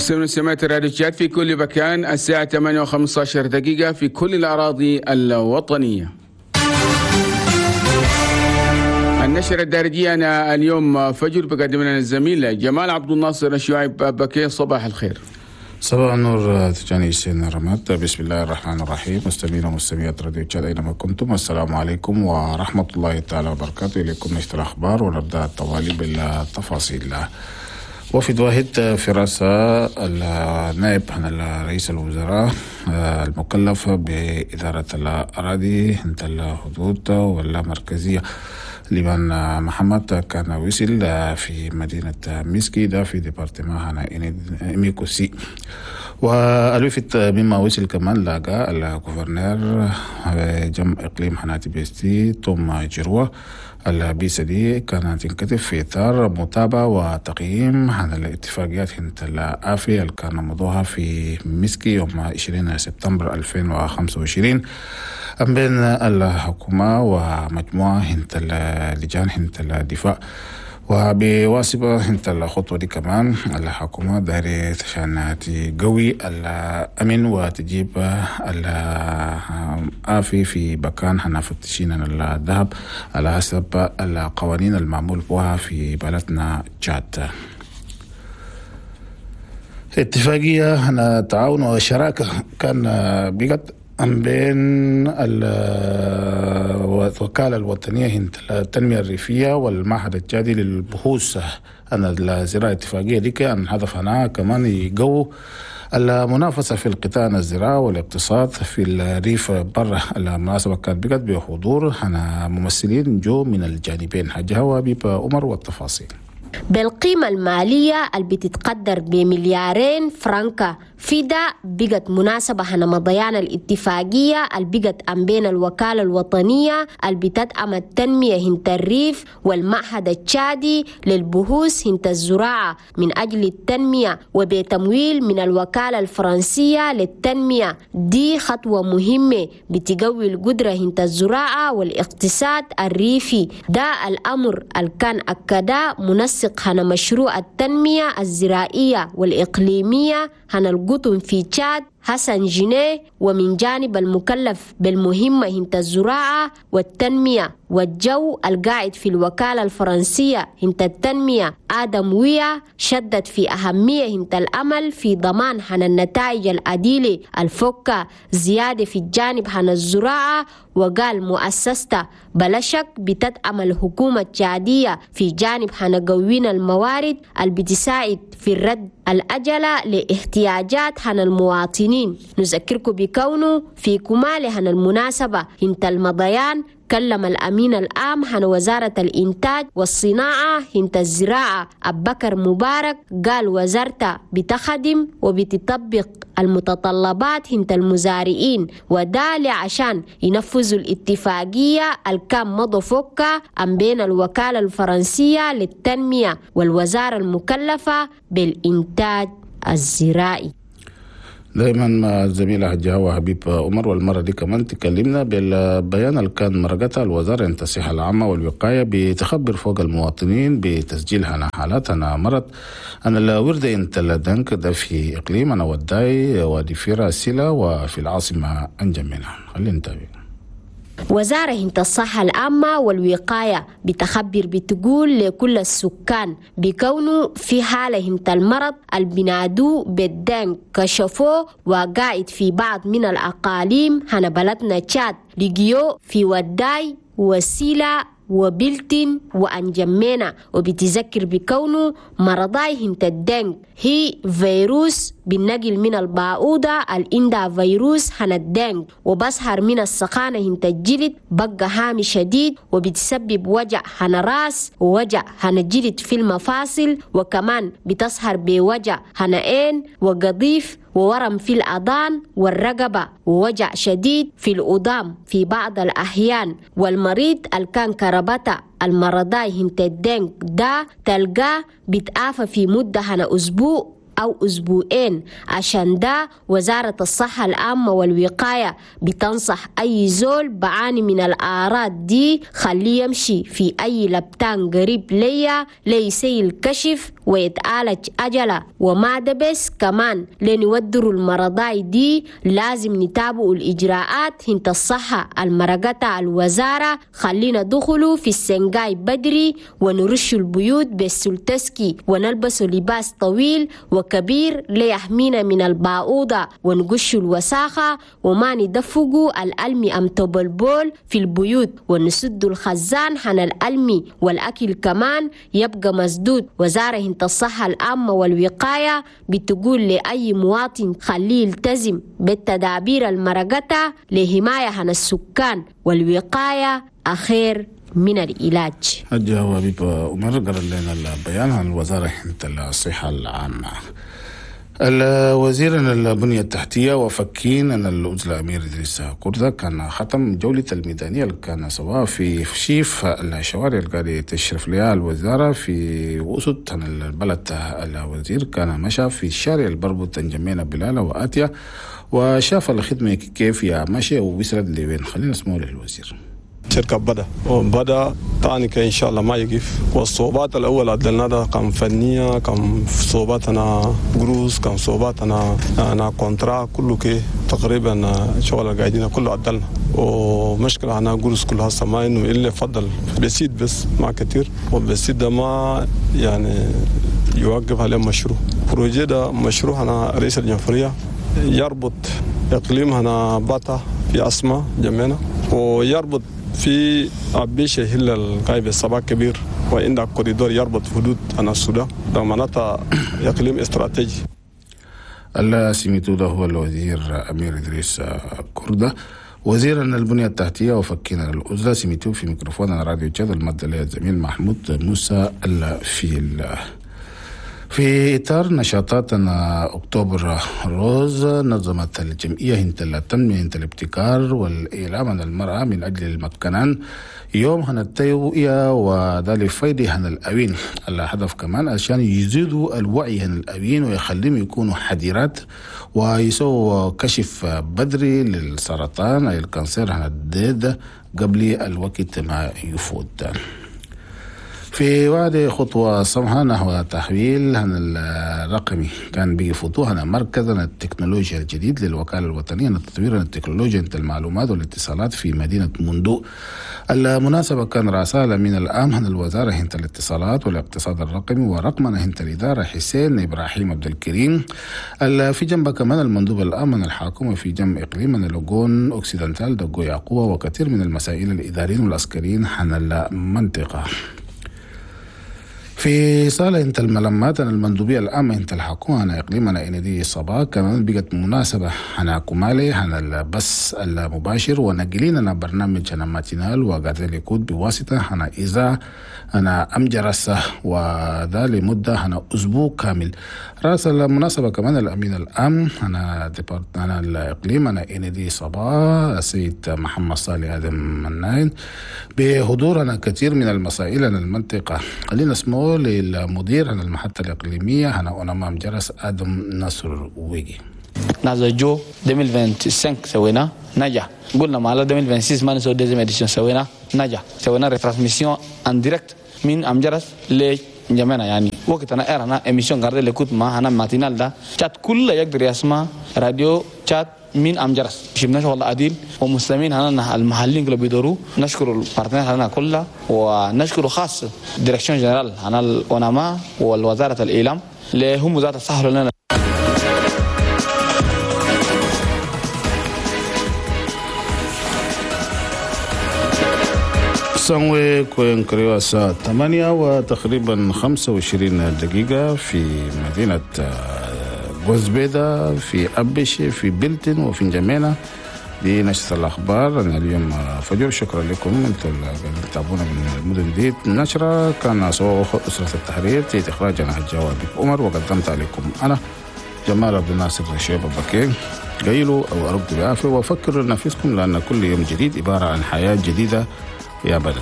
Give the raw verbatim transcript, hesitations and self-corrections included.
مستمعين ومستمعات راديو تشاد في كل مكان، الساعة ثمانية وخمسة عشر دقيقة في كل الأراضي الوطنية. النشرة الدارجية أنا اليوم فجر بقدم لنا الزميل جمال عبد الناصر الشعيب بكي. صباح الخير. صباح النور تجاني سين رمات. بسم الله الرحمن الرحيم. مستمعين ومستمعات راديو تشاد أينما كنتم، السلام عليكم ورحمة الله تعالى وبركاته. إليكم نشر الأخبار ونبدأ التوالي بالتفاصيل. وفد واحد في رأس النائب عن رئيس الوزراء المكلف بإدارة الأراضي عند الحدود والمركزية لبان محمد كان وصل في مدينة ميسكي ده في département إميكوسي. والوفد مما وصل كمان لاقى ال gouverneur جم إقليم هنا تيبستي توم جروا. البيسة دي كانت تنكتب في إطار متابعة وتقييم عن الاتفاقيات هنت الآفي اللي كان مضوها في ميسكي يوم عشرين سبتمبر ألفين وخمسة وعشرين بين الحكومة ومجموعة هنت اللجان هنت الدفاع. وبواسطة هنت الخطوة دي كمان الحكومة دايرة عشان تقوي الأمن وتجيب الآفي في مكان هنفتشين الذهب على حسب القوانين المعمول بها في بلدنا تشاد. اتفاقية هنا تعاون وشراكة كان بقت بين الوكالة الوطنية للتنمية الريفية والمعهد التشادي للبحوث أن الزراعة. اتفاقية دي كان هدفها كمان يقووا المنافسة في القطاع الزراعة والاقتصاد في الريف برا. المناسبة كانت بقت بحضور هنا ممثلين جو من الجانبين. حاجة هوا بيبا عمر والتفاصيل. بالقيمة المالية اللي بتتقدر بمليارين فرنكا في ده بقت مناسبة هنا مضيان الاتفاقية اللي بقت أم بين الوكالة الوطنية اللي بتدعم التنمية هنت الريف والمعهد التشادي للبحوث هنت الزراعة من أجل التنمية وبتمويل من الوكالة الفرنسية للتنمية. دي خطوة مهمة بتقوي القدرة هنت الزراعة والاقتصاد الريفي. ده الأمر اللي كان أكدا منسق هنا مشروع التنمية الزراعية والإقليمية هنا القطن في تشاد حسن جنيه، ومن جانب المكلف بالمهمة هنت الزراعة والتنمية والجو القاعد في الوكالة الفرنسية هنت التنمية آدم ويا، شدد في أهمية هنت الأمل في ضمان هن النتائج العديلة الفكة زيادة في الجانب هن الزراعة. وقال مؤسسته بلا شك بتدعم الحكومة التشادية في جانب هن قوين الموارد اللي بتساعد في الرد الأجلة لاحتياجات هن المواطنين. نذكركم بكونه في كمال هن المناسبة هنت المضيان كلم الأمين العام هن وزارة الإنتاج والصناعة هنت الزراعة أبكر مبارك، قال وزارته بتخدم وبتطبق المتطلبات هنت المزارعين وده عشان ينفذوا الاتفاقية الكام مضوا فوقها أم بين الوكالة الفرنسية للتنمية والوزارة المكلفة بالإنتاج الزراعي. دائما مع الزميلة حجة حبيب عمر، والمرة دي كمان تكلمنا بالبيان اللي كان مرقتها الوزارة عن الصحة العامة والوقاية بتخبر فوق المواطنين بتسجيل هنا حالات هنا مرض أن الورد انت الدنك ده في إقليم أنا وداي وادي فيرا سيلا وفي العاصمة أنجمينا. خلينا نتابع. وزارة هنت الصحة العامة والوقاية بتخبر بتقول لكل السكان بكونه في حالة هنت المرض البنادو بالدنك كشفوه وقاعد في بعض من الأقاليم هنا بلدنا تشاد لقيو في وداي وسيلة وبلتن وأنجمينا. وبتذكر بكونه مرضاي هنت الدنك هي فيروس بالنقل من الباعوضة الإندا فيروس هن الدنك، وبسهر من السخانة هنت الجلد بقى هامي شديد وبتسبب وجع هن راس ووجع هن الجلد في المفاصل، وكمان بتسهر بوجع هن عين وقضيف وورم في الأذان والرقبة ووجع شديد في الأضام في بعض الأحيان. والمريض اللي كان كربته المرضاي هنت الدنك ده تلقاه بتعافى في مدة هنا أسبوع أو أسبوعين. عشان ده وزارة الصحة العامة والوقاية بتنصح أي زول بعاني من الأعراض دي خليه يمشي في أي لبتان قريب ليا ليسي الكشف ويتعالج أجله. وما ده بس كمان لنودروا المرضاي دي لازم نتابعوا الإجراءات هنت الصحة المرقتها الوزارة، خلينا دخلوا في السنجاي بدري ونرش البيوت بالسلتسكي ونلبس لباس طويل وكبير ليحمينا من الباعوضة ونقش الوساخة وما ندفقوا الألمي أم تبلبول في البيوت ونسد الخزان حن الألمي والأكل كمان يبقى مسدود. وزارة هنت الصحة العامة والوقاية بتقول لأي مواطن خليه يلتزم بالتدابير المرقتة لحماية عن السكان، والوقاية أخير من العلاج. الجواب عمر قرأ لنا البيان عن الوزارة الصحة العامة. الوزير البنية التحتية وفكين أن الأزلة أمير إدريس كردة كان ختم جولة الميدانية اللي كان سواء في شيف الشوارع اللي قاعد تشرف لها الوزارة في وسط البلد. الوزير كان مشى في الشارع البربط تنجمينا بلالة وآتيا وشاف الخدمة كيف يا ماشي ووصلت لوين. خلينا نسمعه للوزير. شركة بدأ وبدأ تاني إن شاء الله ما يقف. والصعوبات الأول عدلنا ده كان فنية، كان صعوبات أنا قروس، كان صعوبات أنا أنا contrat كله كي تقريبا شغل القاعدين كله عدلنا. ومشكلة أنا قروس كلها ما إنه إلا فضل بسيط بس ما كتير، وبسيط ده ما يعني يوقف عليه مشروع. projet ده مشروع أنا رئيس الجمهورية يربط إقليم هنا باتا في أسماء جمعنا ويربط في أبيشة هي القايب السباق كبير، وعندك كوريدور يربط حدود أنا السودان، ده معناتها إقليم استراتيجي. السميتو ده هو الوزير أمير إدريس كردة وزير البنية التحتية وفكينا الأزلة. سميتو في ميكروفون راديو تشاد المادة الزميل محمود موسى الفيل. في إطار نشاطاتنا أكتوبر روز نظمت الجمعية هنت التنمية هنت الابتكار والإعلام عن المرأة من أجل المكنان يوم هن التوعية وذلك فايدة هن الأوين. الهدف كمان عشان يزيدوا الوعي هن الأوين ويخليهم يكونوا حذرات ويسووا كشف بدري للسرطان أي ال cancer هن الديد قبل الوقت ما يفوت. في وعد خطوة سمحة نحو تحويل الرقمي كان بيفوتوها مركز التكنولوجيا الجديد للوكالة الوطنية لتطوير التكنولوجيا المعلومات والاتصالات في مدينة موندو. المناسبة كان رسالة من الآن عن الوزارة هنت الاتصالات والاقتصاد الرقمي ورقمنا هنت الإدارة حسين إبراهيم عبد الكريم. في جنب كمان المندوب الأمن الحاكم في جنب إقليم لوغون أوكسيدنتال دقو يعقوب وكثير من المسائل الإداريين والعسكريين عن المنطقة. في صالة انت الملمات المندوبية العامة انت الحكومة أنا إقليمنا إندي صبا كمان بقت مناسبة أنا كمالي أنا البث المباشر ونقلين برنامج أنا ماتينال وقاعد يكون بواسطة أنا إذا أنا أمجرس وذا لمدة أنا أسبوع كامل. رأس المناسبة كمان الأمين العام أنا أنا الإقليم أنا إندي صبا السيد محمد صالح آدم مناين بحضور أنا كثير من المسائل أنا المنطقة. خلينا نسمعه للمدير عن المحطة الإقليمية هنا أمام جرس آدم نصر ويجي. نازل جو ألفين وخمسة وعشرين سوينا نجح، قلنا ما على ألفين وستة وعشرين ما نسوي deuxième édition سوينا نجح، سوينا retransmission en direct من أم جرس لجمعنا يعني وقت أنا إيرنا émission غارد اللي كنت مع هنا matinale ده شات كله يقدر يسمع راديو تشاد من أم جرس. شفنا شغل عديل ومسلمين هنا المحليين اللي بيدوروا، نشكر ال partenaires هنا كلها ونشكر خاص direction générale هنا الأوناما والوزارة الإعلام اللي هم وزارة الصحة لنا. سنوي كوين كريوا الساعة ثمانية وتقريبا خمسة وعشرين دقيقة في مدينة غوزبيدا في أبشي في بلتن وفي جمينة. دي نشرة الأخبار أنا اليوم فجر. شكرا لكم أنتم اللي تتابعونا من المدن دي. النشرة كان سواء أسرة التحرير تيت إخراجنا الجواب عمر وقدمت عليكم أنا جمال عبد الناصر الشيب بكير. قيلوا أو أرقدوا بعافية وفكروا لنفسكم لأن كل يوم جديد عبارة عن حياة جديدة يا بلد.